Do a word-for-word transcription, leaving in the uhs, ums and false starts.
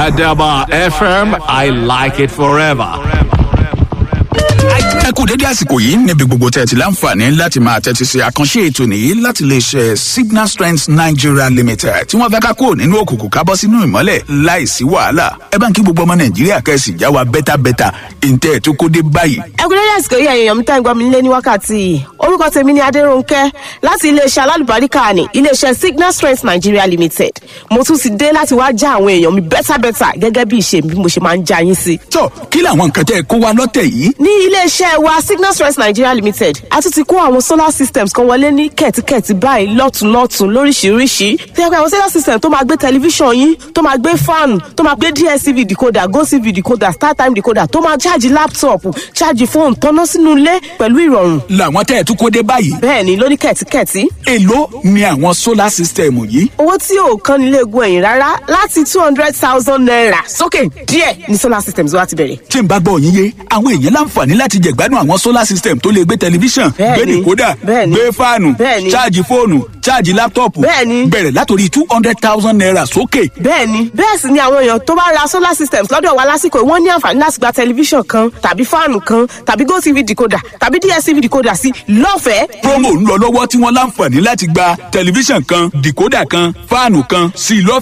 Adaba F M, I like it forever. Ẹ kú dédé àsìkò yìí níbi gbogbo tẹ́ ẹ ti láǹfààní láti máa tẹ́tí sí àkànṣe ètò nìyí láti lè ṣe Signal Strength Nigeria Limited, tí wọ́n fẹ́ ká kúrò nínú òkùnkùn, ká bọ́ sínú ìmọ́lẹ̀ láìsí wàhálà. Ẹ bá ń kí gbogbo ọmọ Nàìjíríà, kẹ́sì já wa bẹ́tàbẹ́tà ìǹtẹ́ ẹ̀ tó kó dé báyìí. Ẹ kú dédé àsìkò yìí, ẹ̀yin èèyàn mi tá ń gbọ́ mi nílé ní wákàtí yìí. Orúkọ tèmi ni Adérónkẹ́ láti iléeṣẹ́ alálùbáríkà ní iléeṣẹ́ Signal Strength Nigeria Limited. Mo tún ti dé láti wá já àwọn èèyàn mi bẹ́tàbẹ́tà gẹ́gẹ́ bí ìṣe mi, bí mo ṣe máa ń já yín sí. Tó, kí làwọn nǹkan tẹ́ ẹ kó wa lọ́tẹ̀ yìí? Ní iléeṣẹ́ wa Signal Strength Nigeria Limited, a tún ti kó àwọn solar systems kan wọlé ní kẹ̀tíkẹ̀tí báyìí, lọ́tùnlọ́tùn, lóríṣiríṣi. Tí ẹ pé àwọn solar system tó máa gbé tẹlifíṣàn yín, tó máa gbé fan, tó máa gbé D S T V decoder, GOTV decoder, StarTime decoder, tó máa ṣáàjì laptop, ṣáàjì fóònù, tọ́ná sínú ilé pẹ̀lú ìrọ̀rùn. Làwọn tẹ́ ẹ tún kó dé báyìí? Bẹ́ẹ̀ ni, lóní kẹ̀tíkẹ̀tí. Èló ni àwọn solar system yìí? Owó tí ò kan nílé egun ẹ̀yìn rárá, láti two hundred thousand naira sókè díẹ̀ ní solar systems wa ti bẹ̀rẹ̀. Tí n bá gbọ́ yín yé, àwọn èèyàn láǹfààní láti jẹ̀gbádùn àwọn solar system tó lè gbé tẹlifíṣàn, gbé Bẹ́ẹ̀ni. decoder, Bẹ́ẹ̀ni. gbé fáànù, Bẹ́ẹ̀ni. ṣáàjì fóònù, ṣáàjì laptop, Bẹ́ẹ̀ni. bẹ̀rẹ̀ látòrí two hundred thousand naira sókè. Bẹ́ẹ̀ni, bẹ́ẹ̀ sì ni àwọn èèyàn tó bá ra solar systems lọ́dọ̀ wa lásìkò yìí, wọ́n ní àǹfààní láti gba tẹlifíṣàn kan tàbí fáànù kan tàbí GOTV decoder tàbí D S T V decoder sí lọ́fẹ̀ẹ́. Promo ń lọ lọ́wọ́ tí wọ́n láǹfààní láti gba tẹlifíṣàn kan, decoder kan, fáànù kan sí lọ́fẹ̀ẹ́.